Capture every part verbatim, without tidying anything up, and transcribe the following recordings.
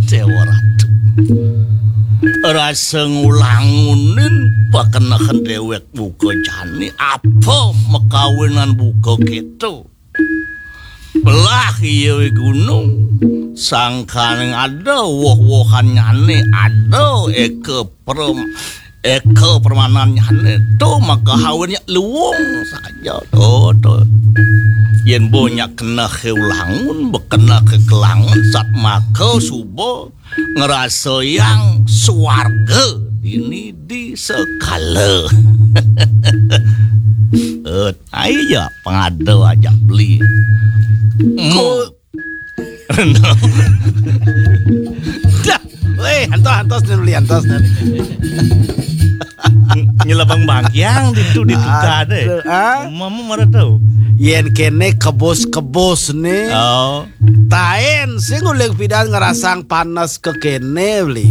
Déwa Ratu. Rasa ngulangunin pakenehan déwék buka jani apa makawinan buka kéto. Belah iya gunung, sangkaning ada woh-wohannyané, ada éka prem-, éka permanannyané, to maka hawinnya luwung saja, to, to. Yén bo nyak keneh ké ulangun, bekeneh ké kelangun, sat maka suba ngrasayang swarga dini di sekala. Eh, ai ja pangada ajak beli. Ko- Dah, wéh, antos, antos, nih, beli antos, nih. Nyelebang bangkiang ditu, ditu kadé. Aduh, ah. Mama marah tau. Yén kéné kebus-kebus nih. Oh. Taén sing uling pidan ngerasang panas ké kéné, beli.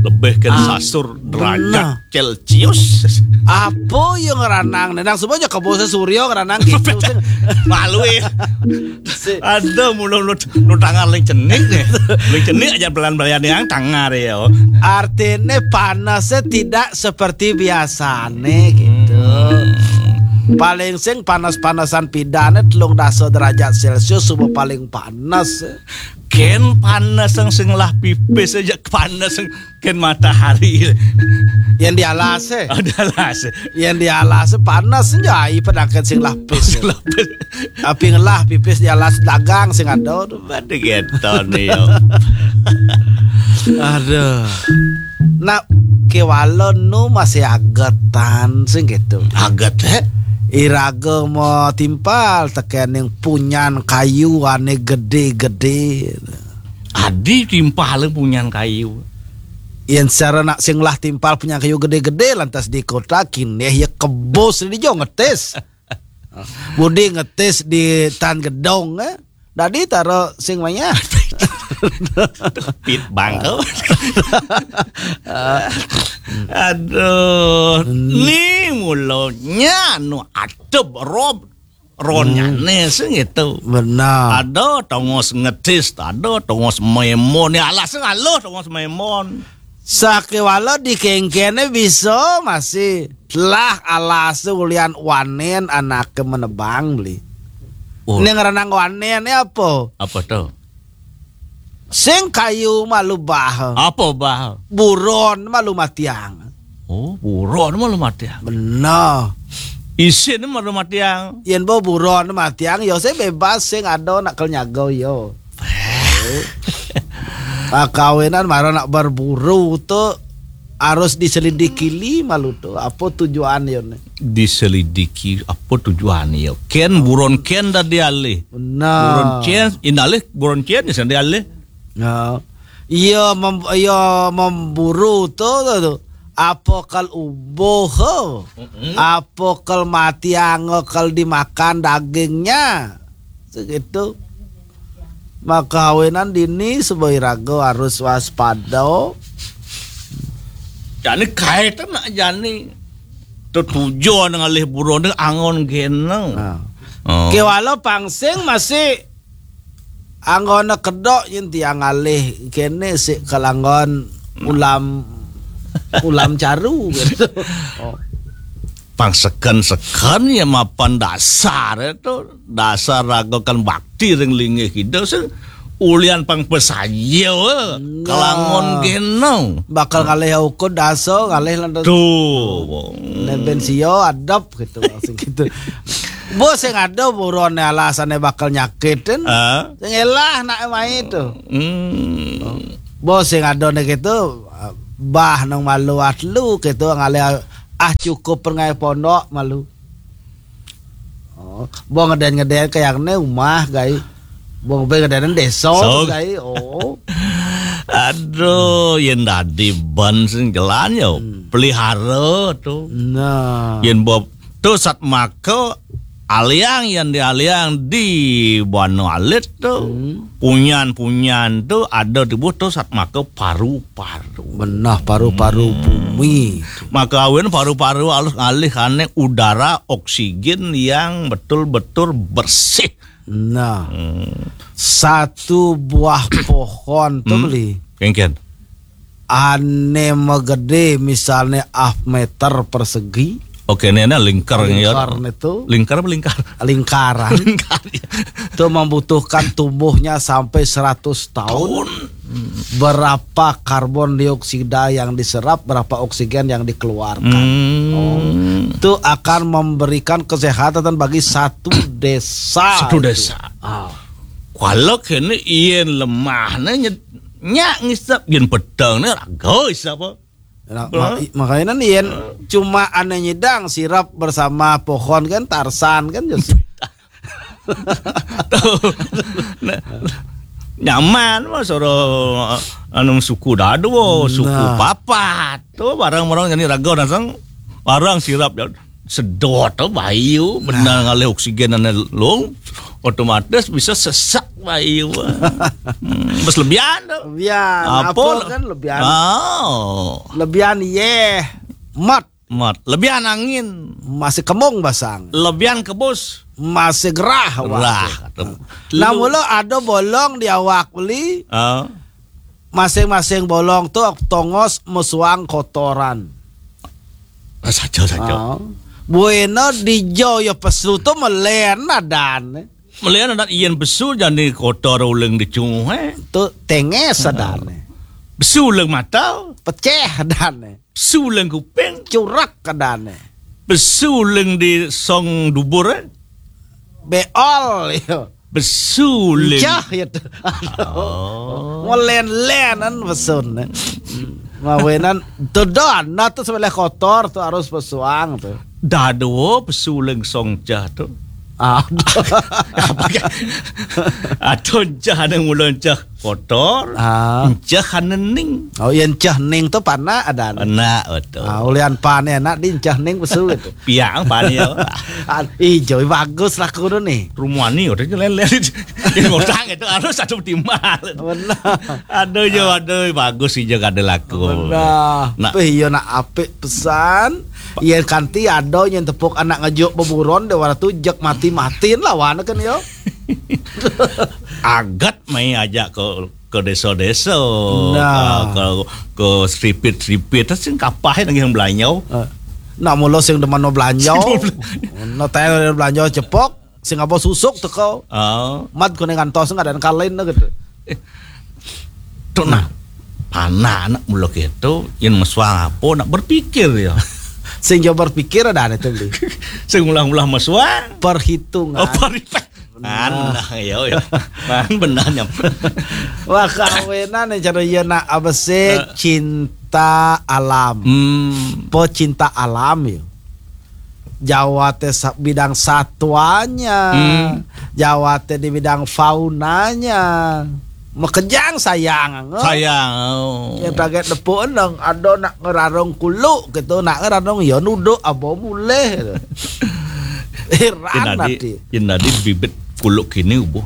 Lebih ké Ah, sasur derajat bener. Celcius. Apa yang ngeranang nih? Nang semuanya kebusnya Suryo ngeranang gitu sih. Malu ya. Si- Ada mulu lu, lu tangan ling cenik nih. Ling cenik aja pelan-pelan yang tangan ya. Artinya panasnya tidak seperti biasanya gitu. Hmm. Paling sing panas-panasan pidané telung dasa derajat Celcius suba paling panas. Kén panas sing, sing lah pipis aja panas sing kén matahari. Yang di alas, eh. Oh, di alas. Yang di alas panas aja, ai pedangkan sing lah pipis. Sing lah pipis. Tapi ngelah pipis di alas dagang sing ada. Aduh. Pada gitu nih, yo. Aduh. Nak, kéwala nu masih agetan sing gitu. Aget, eh? Iraga mau timpal tekening punyan kayu ané gedé-gedé. Adi timpal punyan kayu. Yén secara nak sing lah timpal punyan kayu gedé-gedé lantas di kota kinéh ya kebus di jo ngetis. Budi ngetis di tan gedong, eh. Dadi taro sing manyah. Pit bangko. Aduh, ni mulanya anu adep rob ronnyane sing gitu. Benar. Ada tongos ngetis, ada tongos memon. Ya alas ngaluh tongos memon. Sakéwala di kéngkéné bisa masih telah alas ulian wanen anaké menebang beli. Oh. Ini ngerenang wanen ya apa? Apa tuh? Sing kayu malu bah. Apa bah? Buron malu matiang. Oh, buron malu matiang. Benar. Isin malu matiang. Yen bo buron matiang, yo sing bebas sing ada nak kel nyaga yo. Pakawinan mara nak berburu tu harus diselidiki li malu tu. Apa tujuan yo ni? Diselidiki apa tujuan yo? Ken buron ken dadi alih. Benar. Buron ken, indalih buron ken ya sing alih. Ya. Iya mem-, iya memburu tu, tu, tu. Apa kal ubuh, apa kal matiang, kal dimakan dagingnya. Segitu. Maka awinan dini sebagai raga harus waspada. Jani kaitan nak jani. Tu tujuan ngalih buron ni angon geneng. Nah. Oh. Kewala pangsing masih anggona kedok yen tiang ngalih kene sik kelanggon ulam, ulam caru gitu. Oh. Pang seken-seken ya mapan dasar itu, dasar raga kan bakti ring linggih kidul sing ulian pang pesaya, eh, nah, kelangon genong. Bakal ngalih ukud dasa, ngalih lantas. Tuh. Neben sio adep gitu maksud gitu. Bos sing ada buron alasane bakal nyakitin. Ah. Sing elah nak mai itu. Hmm. Bos sing ada nih gitu, bah nang malu atlu gitu ngalih ah cukup perngai pondok malu. Oh, bo ngeden-ngeden kayak ne umah gai. Bo ngeden desa so, gai. Oh. Aduh, yen dadi ban sing jalan ya. Hmm. Pelihara tu. Nah. Yen bo tu sat maka aliang yen di aliang di bano alit tu. Hmm. Punyan-punyan tu ada tibu tu sat maka paru-paru. Benah paru-paru bumi. Maka awin paru-paru alus ngalih ane udara oksigen yang betul-betul bersih. Nah, hmm, satu buah pohon tuh, hmm, beli. Kengken. Ane megede misalnya half meter persegi. Oke, ini ada lingkar ya. Lingkar itu. Lingkar apa lingkar? Lingkaran. Lingkar, ya. Itu membutuhkan tumbuhnya sampai seratus tahun. Tahun. Berapa karbon dioksida yang diserap, berapa oksigen yang dikeluarkan. Hmm. Oh. Itu akan memberikan kesehatan bagi satu desa. Satu itu. Desa. Ah. Kalau kene yen lemah ne nyet-, nyak ngisap, yen pedang ne raga isap apa? Nah, ma-, makanya kan yen cuma ane nyidang sirap bersama pohon kan, Tarsan kan, ya sih. Tuh. Nah, nyaman mah soro anu suku dadu, suku, nah, papat. Tuh barang-barang jadi raga nasang barang sirap ya. Sedot tuh bayu, benar, nah, ngalih oksigen ane long, otomatis bisa sesak bayu. Hmm, bes lebihan tuh. Lebihan, apa? Apa kan lebihan? Oh. Lebihan, yeh. Mat. Mat. Lebihan angin. Masih kemung basang. Lebihan kebus. Masih gerah awak. Gerah, tuh. Nah, lu mula ada bolong di awak beli. Ah. Masing-masing bolong tuh tongos mesuang kotoran. Ah, saja, saja. Ah. Buena dijo ya pesu tuh melen adan. Melen adan, yen pesu jani kotor uling dicunguh, eh. Tuh tenges adan. Pesu uling mata. Peceh adan. Pesu uling kuping. Curak adan. Pesu uling di song dubur, eh. Beol, ya. Pesu uling. Cah, ya tuh. Aduh. Oh. Ngelen-lenan pesun, eh. Mawenan tuh don, nah tuh sebelah kotor tuh harus pesuang tuh. Dado pesu uling song cah tuh. Ah, apa ya? Atau cah ane ngulon cah kotor, ah, cah ane ning. Oh, yen cah ning tuh pana adan. Pana, betul. Ah, ulian pane anak di cah ning pesu gitu. Piang pane ya. Ah, ijo bagus lah kudu nih. Rumani udah lele. Di ngotang itu harus satu timbal. Benar. Aduh, yo, aduh, bagus sih, jo, ada laku. Benar. Nah. Peh, iya nak apik pesan. Yen kanti ada nyen tepuk anak ngejuk beburon deh, wara tu jek mati-matiin lawan kan, yo. Agat mai ajak ke, ke desa-desa, nah, ke, ke, ke seripit-seripit, terus sing kapah lagi yang belanjau. Eh, nak mula sing demen belanjau. Sing demen belanjau. Nak tayar belanjau cepok, sing apa susuk teko. Oh. Mat kene ngantos nggak ada kalain gitu. Eh, tuh, nah, panah anak mula gitu, yang mesuang apa nak berpikir ya. Sing jauh berpikir ada ane tuh, Bli. Sing ulah-ulah mesuang. Perhitungan. Oh, perhitungan. Nah. Nah, ya, ya. Nah, benar nyam. Wah, kawinan nih cara iya nak apa sih? Eh. Cinta alam. Hmm. Pecinta alam ya. Jawa teh sa-, bidang satuanya. Hmm. Jawa teh di bidang faunanya. Mekejang sayang. Sayang. Oh. Ya, pakai tepuk endang, ada nak ngerarung kuluk gitu, nak ngerarung ya nuduk apa mulih gitu. Heran nanti. Yen tadi bibit kuluk kini ubuh.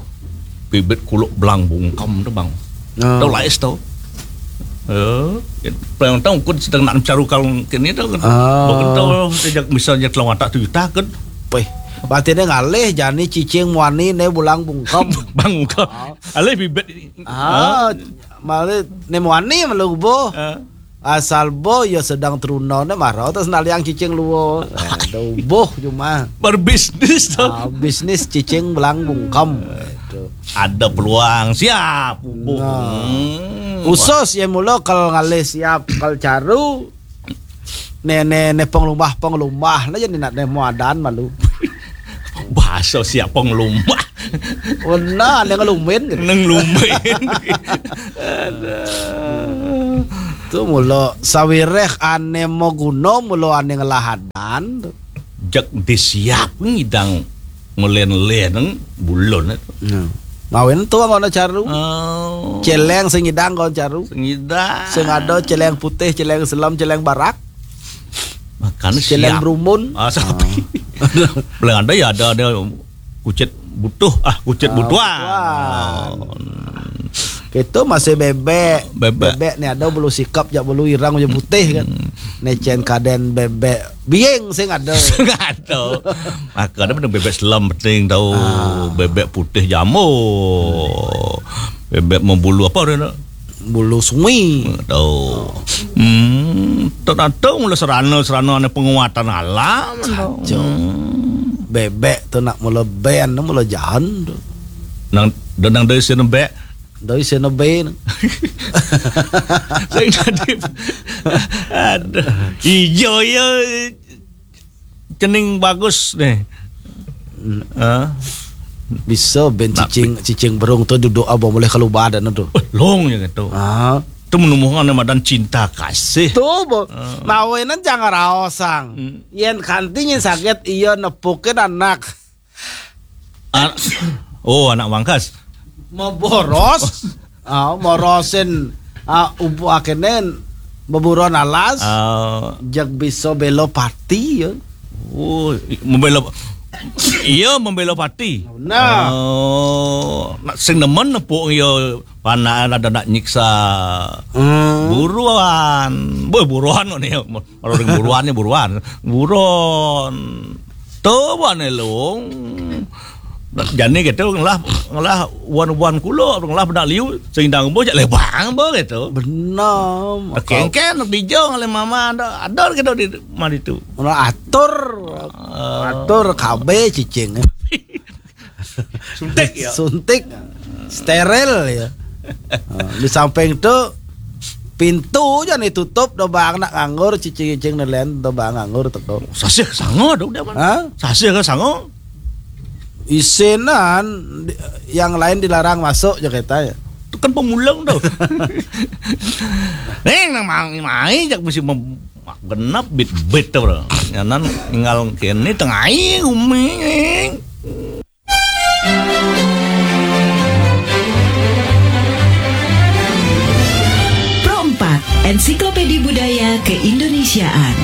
Bibit kuluk belang bungkem tuh, Bang. Oh. Tau lais tau. Eh, paling tau kut sedang nak mencari kalung kini tuh kan. Oh. Bukan tau sejak misalnya telung watak tujuh tahun. Weh, berarti dia ngalih jani cicing muani ne bulang bungkem. Bang bungkem. Oh. Alih bibit. Ah, malah ne muani malu ubuh. Eh. Asal bo ya sedang teruna ne marau terus naliang cicing luo. Aduh, boh cuma. Berbisnis tuh. Ah, bisnis cicing belang bungkem. Itu. Ada peluang siap. Boh. Nah. Hmm. Usus ya mula kal ngalih siap kal caru. Ne, ne, ne penglumah, penglumah lah jadi nak ne muadan malu. Bahasa siap penglumah. Benar, ne ngelumin gitu. Neng lumin. Aduh. Tu mula sawireh ane mau guna mula ane ngelahadan tu. Jak disiap ngidang ngelen-len bulon tu. Nah. Ngawin tu ngono caru. Oh. Celeng sing ngidang kon caru. Sing ngidang. Sing ada celeng putih, celeng selam, celeng barak. Makanya celeng siap. Berumun. Ah, sapi. Ah. Paling ada ya ada, ada kucit butuh, ah, kucit ah, butuhan. Butuhan. Oh. Itu masih bebek. Bebek. Bebek nih ada bulu sikap, jak bulu irang, jak putih kan. Hmm. Necen kaden bebek Biing sing ada. Sing ada. Maka ada bébék selem penting tau. Ah. Bébék putih jamur. Bébék membulu apa dia nak? Bulu sungi. Tau. Hmm, tu nak tahu mula serana-serana ni penguatan alam. Saja. Hmm. Bébék tu nak mula ben, mula jahan tu. Nang, dan nang dari sini bébék. Dari sini ben. Saya tadi. Aduh. Ijo ya. Cening bagus nih. Hmm. Ah. Bisa ben nak cicing, cicing berung tu duduk abang boleh keluar dan tu. Eh, long ya gitu. Ah. Tu menemukan nama dan cinta kasih. Tu, bo. Ah. Mawinan jangan raosang. Hmm. Yen kanti nyen sakit, iya nepukin anak. An-, oh, anak mangkas. Mau boros. Ah, morosin, ah, upu akenen beburon alas. Ah. Jag bisa bela pati ya. Oh, i-, membela, iya, membela pati. Nah. Oh, nak sing nemen nepuk iya panaan ada nak nyiksa. Hmm. Buruan. Boy, buruan ni. Orang buruan ni buruan. Buron. Tuh, buan elung. Jani gitu ngelah, ngelah wan-wan kulo, ngelah benak liu, sehingga ngembo jak lebang bo gitu. Benar. Kengken nak dijong oleh mama ada, ada gitu di mari tu. Ora atur, ah, atur K B cicing. Suntik ya. Suntik. Steril ya. Ah, di samping tu pintu aja nih tutup, dobang nak nganggur, cicing-cicing nelen, dobang nganggur teko. Sasih sango dong dia, Man. Hah? Sasih ke sango? Isinan di-, yang lain dilarang masuk, je kata ya. Itu kan pemulang tu. Neng nang mai, mai jak mesti mem-, genap bit-bit tu, bro. Nyanan tinggal kene tengah umi. Pro empat, Ensiklopedia Budaya Keindonesiaan.